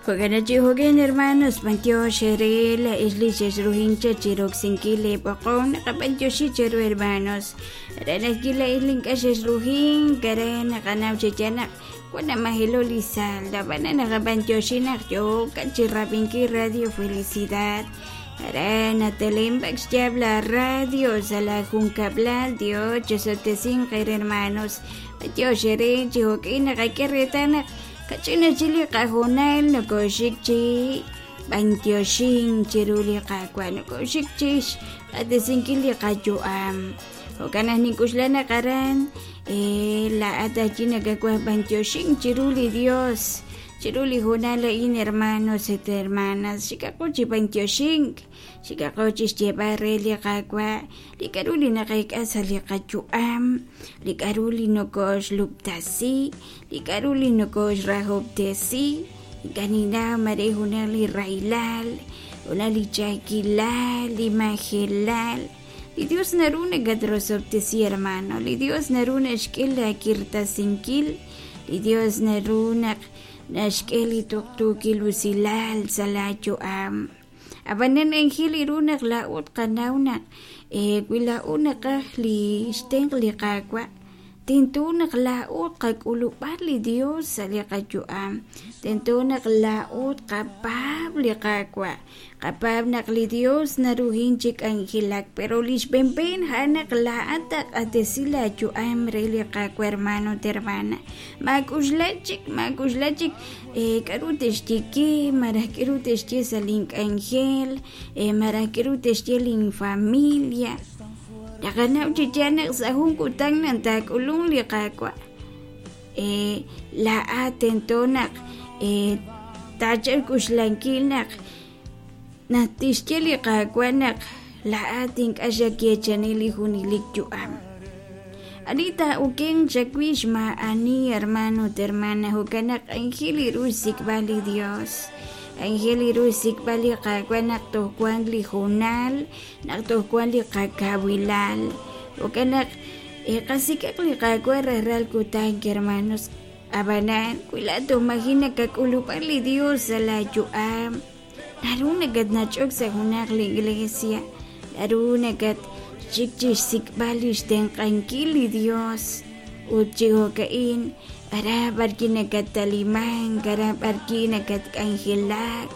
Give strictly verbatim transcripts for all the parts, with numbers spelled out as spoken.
Jo'kan chi jo'kan hermanos, b'antiox ere la isli xexruhincha chiroksinkil b'oqom naqab'antioxi cheru hermanos. Ranakil la islin k'a xexruhin kare naqanaw cheyanaq wana majelo li salda b'ana naqab'antioxi naq yo'kan chirab'inki Radio Felicidad. Arana telembak xyab la radio sa la junkablal Dios chesotesin qer hermanos. B'antiox ere chi jo'kin naqak'e retanaq kachina chili qajunal nokoxik chi b'antioxin chiruli qakwa nokoxik chix q'atesinkil li qayu'am jo'kan naq nink'uxla naqaran eh, la atachi nakakwa b'antioxin chiruli Dios chiruli junal a'in hermanos et hermanas xikaqo chi b'antioxink xikaqo chi xyeb'al re li qakwa li k'aru li naqayk'a sa' li qayu'am li k'aru li nokoxlub'tasi li k'aru li nokoxrajob'tesi ink'a' mare junaq li raylal junaq li ch'a'ajkilal li majelal li Dios naru nakatrosob'tesi hermano li Dios naru naxk'e laakirtasinkil li Dios naru naq naxk'e li tuqtuukil usilal sa' laayu'am ab'anan anjel iru naq laa'ut qanaw naq eh, wi laa'ut naqaj li xtenq' li Qaawa' tento naq laa'ut qak'ulub'al li Dios sa' li qayu'am tento naq laa'ut qapaab' li Qaawa' qapaab' naq li Dios naruhin chi k'anjelak pero li xb'enb'en a'an naq laa'at taq'atesi laayu'am re li Qaawa' hermano ut hermana maak'uxla chik maak'uxla chik eh, k'aru texye ke maraj k'aru texye sa' link'anjel eh, maraj k'aru texye linfamilia naqanaw chi yaal naq sa' jun kutan naq taak'ulun li Qaawa' eh, laa'at tento naq eh, taachal k'uxlankil naq naq tixye li Qaawa' naq laa'at ink'a' xakeechani li junelik yu'am ani taa'uken chawix ma'ani hermano ut hermana jo'kan naq anjel iru xsik'b'al li Dios anjel iru xsik'b'al li Qaawa' naq toj wan li junal naq toj wan li qakawilal jo'kan naq eh, qasik'aq li Qaawa' rajlal kutan hermanos ab'anan wi laa'at toj maji' nakak'ulub'al li Dios sa' laayu'am naru nakatnach'ok sa' junaq li iglesia naru nakat xik chi xsik'b'al li xtenq'ankil li Dios ut chi jo'ka'in ara b'arki nakatalimank ara b'arki nakatk'anjelak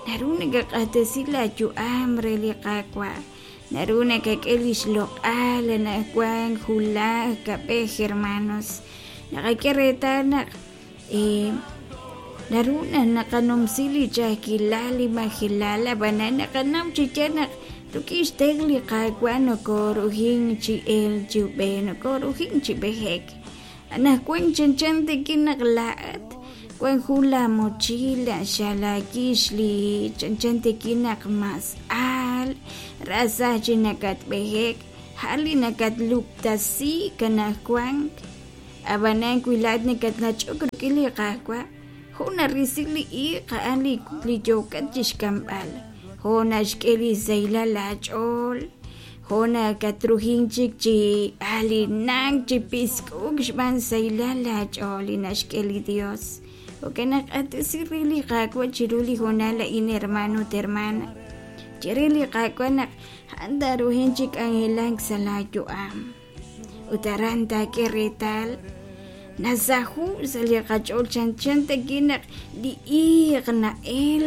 naru nakaq'axtesi laayu'am re li Qaawa' naru nakak'e li xloq'al anaqwan julaj kab'ej hermanos naqak'e reetal naq eh, naru naq naqanumsi li ch'a'ajkilal li majelal ab'anan naqanaw chi yaal naq rik'in xtenq' li Qaawa' nokoruhin chi el chi ub'ej nokoruhin chi b'ejek anaqwan chanchan tikin naq laa'at wan jun la mochila xalakix li chanchan tikin naq mas al rasaj chi nakatb'ejek ja'al li nakatlub'tasi kanajwan ab'anan wi laa'at nakatnach'ok rik'in li Qaawa' jun narisi li iiq a'an li li yookat chixk'amb'al jo' naxk'e li sahilal laach'ool jo' nakatruhin chik chi alinak chi pisk'uk xb'aan sahilal laach'ool li naxk'e li Dios jo'kan naq q'axtesi re li Qaawa' chiru li hoonal a'in hermano ut hermana chire li Qaawa' naq a'an taruhin chi k'anjelak sa' laayu'am ut aran taak'e reetal nasaju sa' li qach'ool chanchan takin naq li iiq na'el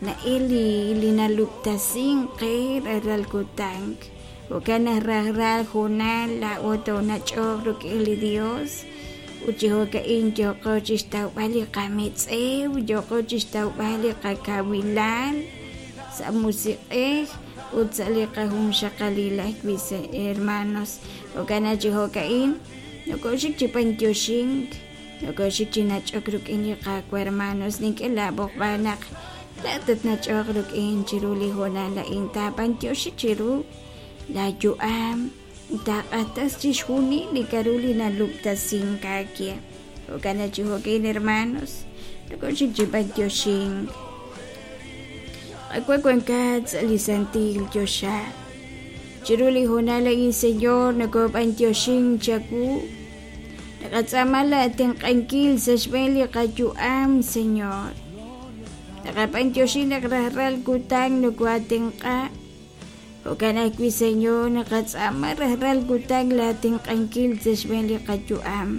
na'el li li nalub'tasin qe rajlal kutan jo'kan naq rajlal hoonal laa'o toonach'oq rik'in li Dios ut chi jo'ka'in yooqo chixtawb'al li qametz'ew yooqo chixtawb'al li qakawilal sa' musiq'ej ut sa' li qajunxaqalil ajwi' hermanos jo'kan naq chi jo'ka'in nokoxik chi b'antioxink nokoxik chi nach'ok rik'in li Qaawa' hermanos nink'e laab'oqb'al naq laa'at tatnach'oq rik'in chiru li hoonal a'in taab'antioxi chiru laayu'am taaq'atas chixjunil li k'aru li nalub'tasink aawe jo'kan naq chi jo'kin hermanos nokoxik chi b'antioxink Qaawa' wankat sa' li santil choxa chiru li hoonal a'in Señor nokob'antioxin chawu naqatz'aama laatenq'ankil sa' xb'een li qayu'am Señor Naqab'antioxi naq rajlal kutan nokoatenq'a. Jo'kan ajwi', Señor, naqatz'aama rajlal kutan laatenq'ankil sa' xb'een li qayu'am.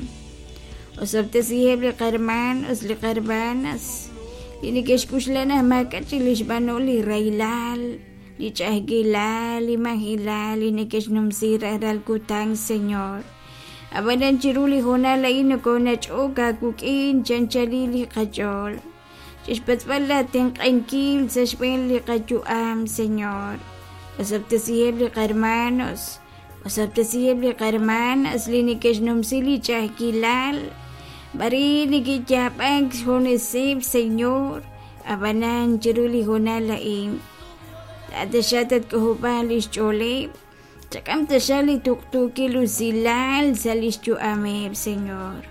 Osob'tesiheb' li qarmanos, li qarmanas, li neke'xk'uxla naq maak'a' chik li xb'anol li rahilal, li ch'a'ajkilal, li majilal, li neke'xnumsi rajlal kutan, Señor. Ab'anan chiru li hoonal a'in nokonach'ok aawik'in chanchalil li qach'ool. Chixpatz'b'al laatenq'ankil sa' xb'een li qayu'am, Señor. Osob'tesiheb' li qarmanos, osob'tesiheb' li qarmanas li neke'xnumsi li ch'a'ajkilal. B'ari neke'yaab'ak xjuneseb', Señor. Ab'anan chiru li hoonal a'in taataxa tatk'ojob'an li xch'ooleb'. Chak'am taxa li tuqtuukil usilal sa' li xyu'ameb', Señor.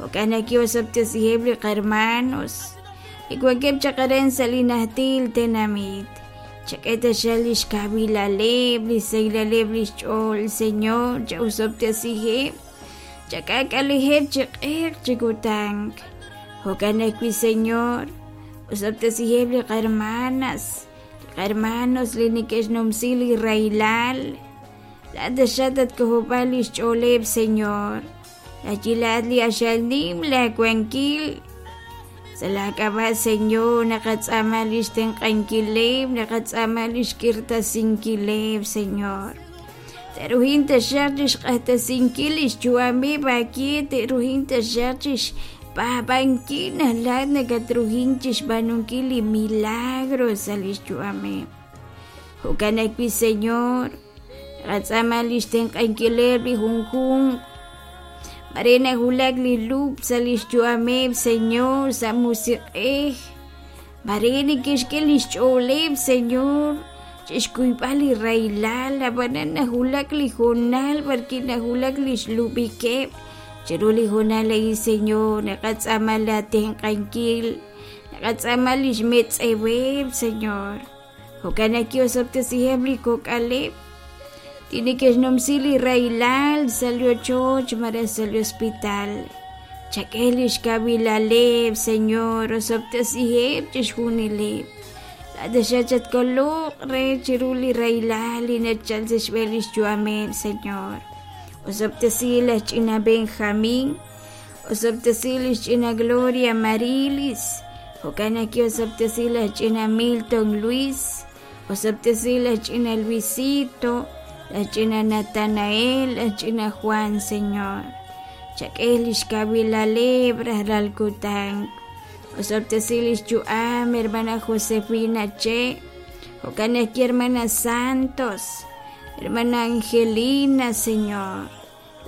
Jo'kan naq osob'tesiheb' li qarmanos li wankeb' chaq aran sa' li najtil tenamit. Chak'e taxa li xkawilaleb', li saylaleb' li xch'ool, Señor. Cha'osob'tesiheb', chak'aak'aliheb' chi q'eq chi kutan. Jo'kan ajwi', Señor, osob'tesiheb' li qarmanas, li qarmanos li neke'xnumsi li rahilal. Laataxa tatk'ojob'an li xch'ooleb', Señor. Lachilaat li axal nim laawankil. Sa' laak'ab'a', Señor, naqatz'aama li xtenq'ankileb', naqatz'aama li xk'irtasinkileb', Señor. Te'ruhin taxaq chixq'axtesinkil li xyu'ameb' aawe, te'ruhin taxaq chixpaab'ankil naq laat nakatruhin chixb'aanunkil li milagro sa' li xyu'ameb'. Jo'kan ajwi', Señor, naqatz'aama li xtenq'ankileb' li junjunq. Mare najulak li lub' sa' li xyu'ameb', Señor, sa' musiq'ej. Mare neke'xk'e li xch'ooleb', Señor, chixkuyb'al li rahilal, ab'anan najulak li hoonal b'arwi' najulak li xlub'ikeb'. Chiru li hoonal a'in, Señor, naqatz'aama laatenq'ankil, naqatz'aama li xmetz'eweb', Señor. Jo'kan naq osob'tesiheb' li kok'aleb' li neke'xnumsi li rahilal sa' li ochoch malaj sa' li hospital. Chak'e li xkawilaleb', Señor, osob'tesiheb' chixjunileb'. Laataxa chatkoloq re chiru li rahilal li nachal sa' xb'een li xyu'ameb', Señor. Osob'tesi laj ch'ina Benjamín, osob'tesi li xch'ina Gloria Marilis, jo'kan naq osob'tesi laj ch'ina Milton Luis, osob'tesi laj ch'ina Luisito, laj ch'ina Natanael, laj ch'ina Juan, Señor. Chak'e li xkawilaleb' rajlal kutan. Osob'tesi li xyu'am, hermana Josefina Che, jo'kan naq hermana Santos, hermana Angelina, Señor.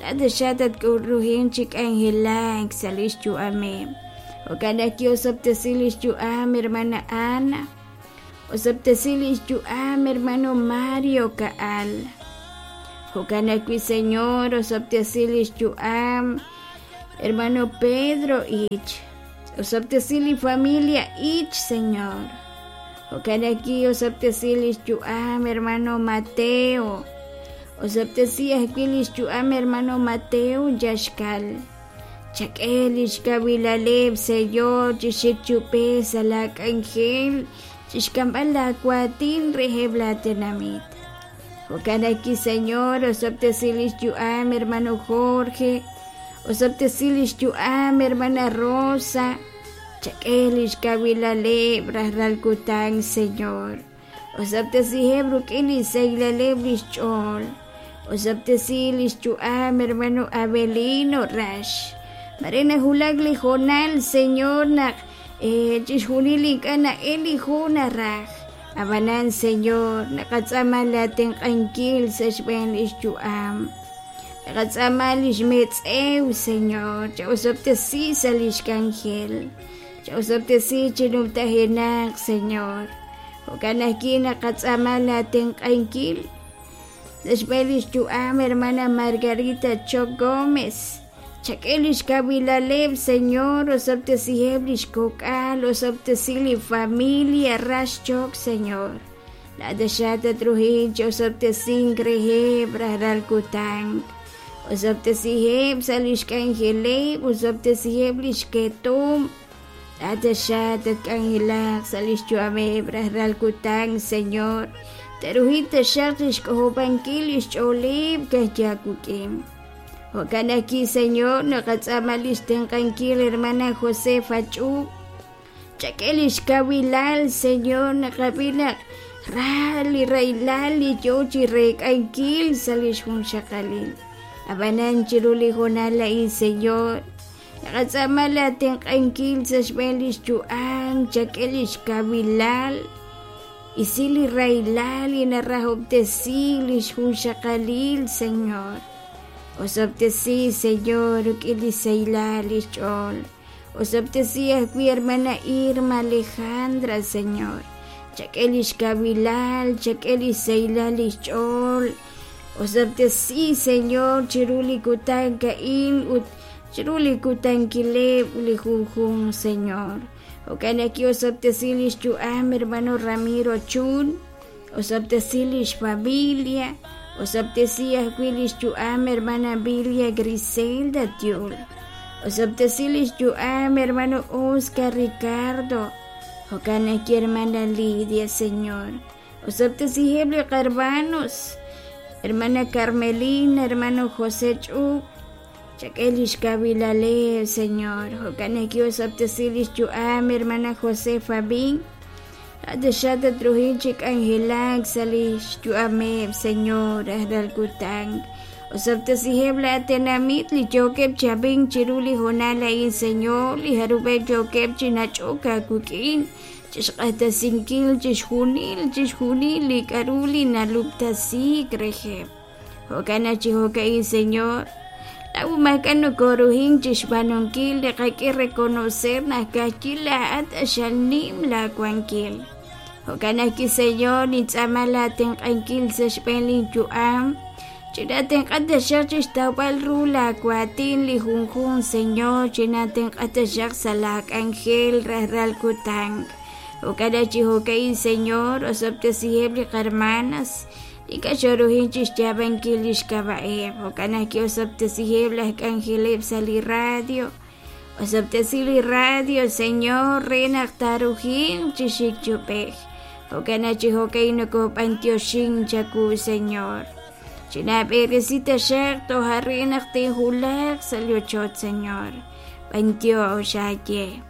Laataxa tatk'uruhin chik angelak sa' li xyu'ameb'. Jo'kan naq osob'tesi li xyu'am, hermana Ana. Osob'tesi li xyu'am, hermano Mario Kaal. Jo'kan ajwi', Señor, osob'tesi li xyu'am, hermano Pedro Ich. Osob'tesi li familia Ich, Señor. Jo'kan ajwi' osob'tesi li xyu'am, hermano Mateo. Osob'tesi ajwi' li xyu'am, hermano Mateo Yaxkal. Chak'e li xkawilaleb', Señor, chixik chupe sa' laak'anjel, chixk'amb'al laawatin reheb' laatenamit. Jo'kan ajwi', Señor, osob'tesi li xyu'am, hermano Jorge. Osob'tesi li xyu'am, hermana Rosa. Chak'e li xkawilaleb' rajlal kutan, Señor. Osob'tesiheb' rik'in li saylaleb' li xch'ool. Osob'tesi li xyu'am, hermano Abelino Rax. Mare najulak li hoonal, Señor, naq eh, chixjunil ink'a' na'el li jun naraj. Ab'anan, Señor, naqatz'aama laatenq'ankil sa' xb'een li xyu'am. Naqatz'aama li xmetz'ew, Señor, cha'osob'tesi sa' li xk'anjel. Cha'osob'tesi chinumtajenaq, Señor. Jo'kan ajwi' naqatz'aama laatenq'ankil sa' xb'een li xyu'am, hermana Margarita Choc Gómez. Chak'e li xkawilaleb', Señor, osob'tesiheb' li xkok'al, osob'tesi li familia Rax Choc, Señor. Laataxa tatruhin chi osob'tesink reheb' rajlal kutan. Osob'tesiheb' sa' li xk'anjeleb', osob'tesiheb' li xketom. Tatasha tatk'anjelaq sa' lix yu'ameb' rajlal kutan, Señor. Teruhin taxaq lix k'ojob'ankil lix ch'ooleb' kajyakuk'in. Jo'kan ajwi', Señor, naqatz'aama lix tenq'ankil hermana Josefa Ch'ub. Chak'e lix kawilal, Señor, naqab'i naq ra li rahilal li yoo chi reek'ankil sa' lix junxaqalil. Ab'anan chiru li hoonal a'in, Señor, naqatz'aama la tenq'ankil sa' xb'een lix yu'am, chak'e lix kawilal, isi li rahilal li narahob'tesi lix junxaqalil, Señor. Osob'tesi, Señor, rik'in li sahilal lix ch'ool. Osob'tesi ajwi' hermana Irma Alejandra, Señor. Chak'e lix kawilal, chak'e lix sahilal lix ch'ool. Osob'tesi, Señor, chiru li kutan ka'in ut chiru li kutankileb' li junjun, Señor. Jo'kan ajwi' osob'tesi lix yu'am hermano Ramiro Chun, osob'tesi lix familia, osob'tesi ajwi' lix yu'am hermana Bilia Griselda Tiul, osob'tesi lix yu'am hermano Oscar Ricardo, jo'kan ajwi' hermana Lidia, Señor. Osob'tesiheb' li qarmanos, hermana Carmelina, hermano José Ch'ub, chak'e lix kawilaleb', Señor. Jo'kan ajwi' osob'tesi lix yu'am hermana Josefa Bin, taxa tatruhin chi k'anjelak sa' lix yu'ameb', Señor, rajlal kutan. Osob'tesiheb' la tenamit li yookeb' chab'in chiru li hoonal a'in, Señor, li jarub'eb' yookeb' chi nach'ok aawik'in, chixq'axtesinkil chixjunil chixjunil li k'a'ru li nalub'tasiik reheb'. Jo'kan chi jo'ka'in, Señor, laa'u maak'a' nokoruhin chixb'aanunkil li qak'e reconocer naq kajkil laa'at axal nim laawankil. Jo'kan ajwi', Señor, nintz'aama la tenq'ankil sa' xb'een linyu'am, chinatenq'a taxaq chixtawb'al ru laawaatin li junjun, Señor, chinatenq'a taxaq sa' laak'anjel rajlal kutan. Jo'kan chi jo'ka'in, Señor, osob'tesiheb' li qarmanas, ink'a' xoruhin chixyaab'ankil lix k'ab'a'eb'. Jo'kan ajwi' osob'tesiheb' laj k'anjeleb' sa' li radio. Osob'tesi li radio, Señor, re naq taarujinq chi xikchub'ej. Jo'kan chi jo'ka'in nokob'antioxin chaku, Señor. Chinab'eresi taxaq toja' re naq tinjulaq sa' li ochoch, Señor. B'antiox aye.